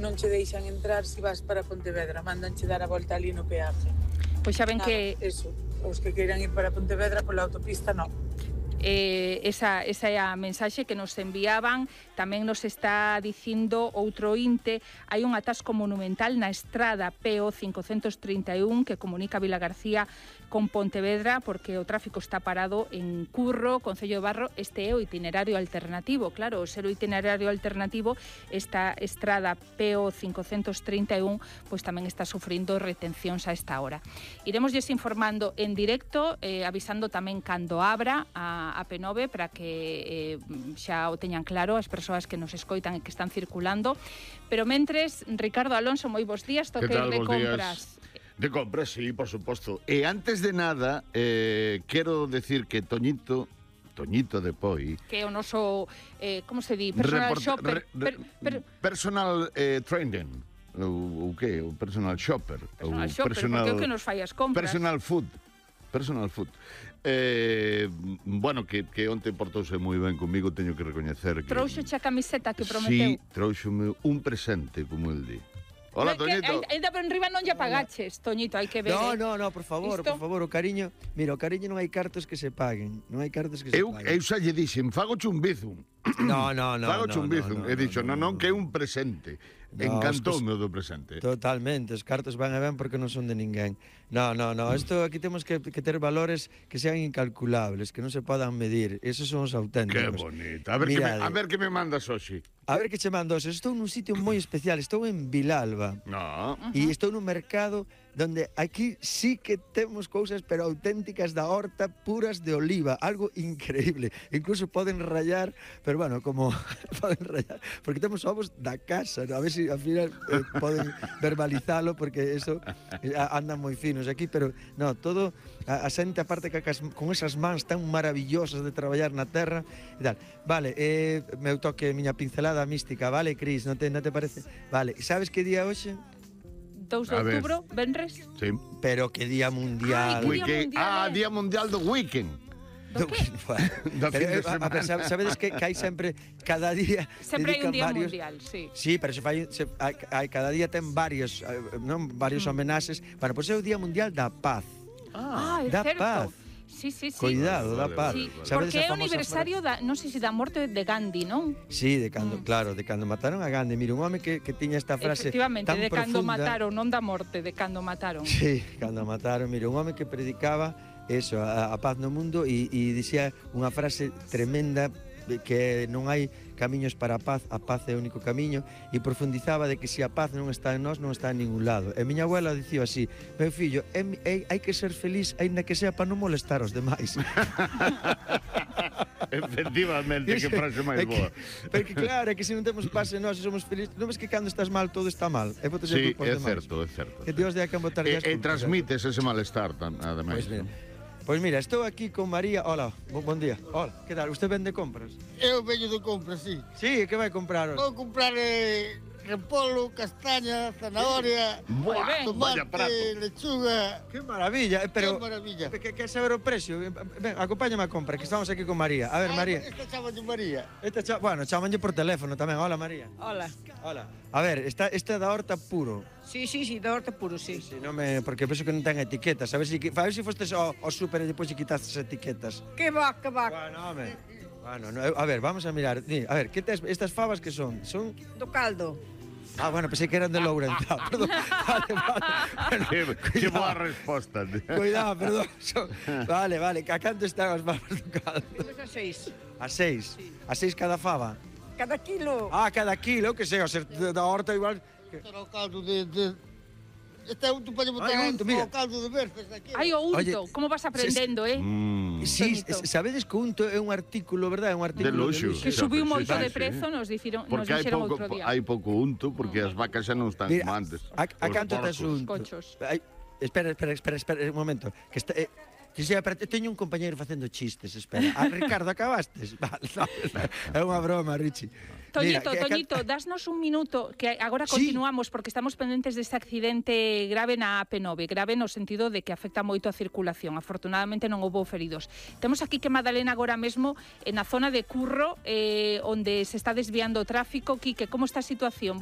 non che deixan entrar se vas para Pontevedra, mandanche dar a volta ali no peaje. Pois xa ven que... Eso, os que queiran ir para Pontevedra pola autopista, non. Esa é a mensaxe que nos enviaban. Tamén nos está dicindo outro ointe, hai un atasco monumental na estrada PO 531 que comunica Vilagarcía con Pontevedra porque o tráfico está parado en Curro, Concello de Barro. Este é o itinerario alternativo. Claro, o ser o itinerario alternativo, esta estrada PO 531 pois tamén está sufrindo retencións a esta hora. Iremosles informando en directo, avisando tamén cando abra a P9 para que xa o teñan claro as persoas que nos escoitan e que están circulando. Pero mentres, Ricardo Alonso, moi bons días, toque de compras. De compras, sí, por suposto. E antes de nada, quero decir que Toñito de Poi, que é o noso, como se di, personal shopper, personal training, o que? O personal shopper, personal shopper, porque é o que nos fai as compras. Personal food. Bueno, que onte portouse moi ben comigo, teño que recoñecer que... Trouxoche a camiseta que prometeu. Sí, trouxome un presente, como el di. Hola, Toñito. Ainda por enriba non lle pagaches, Toñito, hai que ver. No, por favor, o cariño. Mira, o cariño non hai cartos que se paguen. Non hai cartos que se paguen. Eu xa lle dixen, fago chumbizum. No. Fago chumbizum. He dixo, non, que é un presente. Encantoume o do presente. Totalmente, os cartos van e ben porque non son de ninguén. No, isto aquí temos que ter valores que sean incalculables, que non se podan medir. Esos son os auténticos. Que bonito. A ver que me mandas hoxe. A ver que che mando hoxe. Estou nun sitio moi especial, estou en Vilalba. No. E estou nun mercado donde aquí sí que temos cousas pero auténticas da horta, puras de oliva, algo increíble. Incluso poden rayar, pero bueno, como poden rayar, porque temos ovos da casa, ¿no? A ver se ao final poden verbalizalo, porque eso andan moi finos aquí, pero no, todo a xente aparte que con esas mans tan maravillosas de traballar na terra e tal. Vale, meu toque, miña pincelada mística, vale, Cris, non te parece? Vale, sabes que día hoxe? 2 de outubro, venres? Sí. Pero que día mundial. Día mundial do weekend. Do que? Pero, sabedes que hai sempre, cada día sempre hai un día varios, mundial, sí. Sí, pero hai cada día ten varios homenaxes. Bueno, pois é o Día Mundial da Paz. É da certo. Paz. Sí. Cuidado, da paz. Sí, porque é o aniversario non sei se da morte de Gandhi, non? Sí, de cando mataron a Gandhi. Mira, un home que tiña esta frase efectivamente, tan de cando profunda. mataron, non da morte, de cando mataron. Sí, cando mataron. Mira, un home que predicaba eso, a paz no mundo e dicía unha frase tremenda que non hai camiños para a paz é o único camiño, e profundizaba de que se a paz non está en nós, non está en ningún lado. E miña abuela dicía así: meu fillo, hai que ser feliz aínda que sea para non molestar os demais. Efectivamente, que frase máis boa. Porque claro, é que se non temos paz en nós e somos felices, non ves que cando estás mal todo está mal. Sí, é certo. Que Dios de a quen botar e transmites ese malestar, ademais. Pois mira, estou aquí con María. Hola, bon día. Hola, que tal? Usted vende compras? Eu veño de compras, sí. Sí, que vai comprar hoxe? Vou comprar repolo, castaña, zanahoria, tomate, lechuga. Que maravilla, pero... Que maravilla. Que saber o precio. Ven, acompáñame a compra, que estamos aquí con María. A ver, María. Esta chamanlle María. Bueno, chamanlle por teléfono tamén. Hola, María. Hola. A ver, esta é da horta puro. Sí, da horta puro, sí. Sí, porque penso que non ten etiquetas. A ver se fostes ao súper e depois lle quitastes etiquetas. Que va. Bueno, a ver, vamos a mirar. A ver, que tes estas fabas que son? Son do caldo. Bueno, pensei que eran de Lourenço. Perdón. Vale. Que boa resposta. Cuidado, perdón. Vale. A canto están as fabas do caldo? A 6. A 6? Sí. A 6 cada fava? Cada kilo. Cada kilo, que sei, o ser da horta igual... Será o caldo de... Este é unto para botar o caldo de verzas aquí. Ai, o unto, como vas aprendendo, Sí, sabedes que o unto é un artículo, verdad? É un artículo de luxo. Que subiu moito de prezo, nos dixeron outro día. Hai pouco unto, porque as vacas xa non están como antes. A canto tes unto? Cochos. Espera, un momento. Que está... teño un compañeiro facendo chistes, espera. Ricardo, acabastes? Vale, é unha broma, Richie. Toñito, dasnos un minuto, que agora continuamos, porque estamos pendentes deste accidente grave na AP9, grave no sentido de que afecta moito a circulación. Afortunadamente non houbo feridos. Temos aquí que Madalena agora mesmo na zona de Curro, onde se está desviando o tráfico. Quique, como está a situación?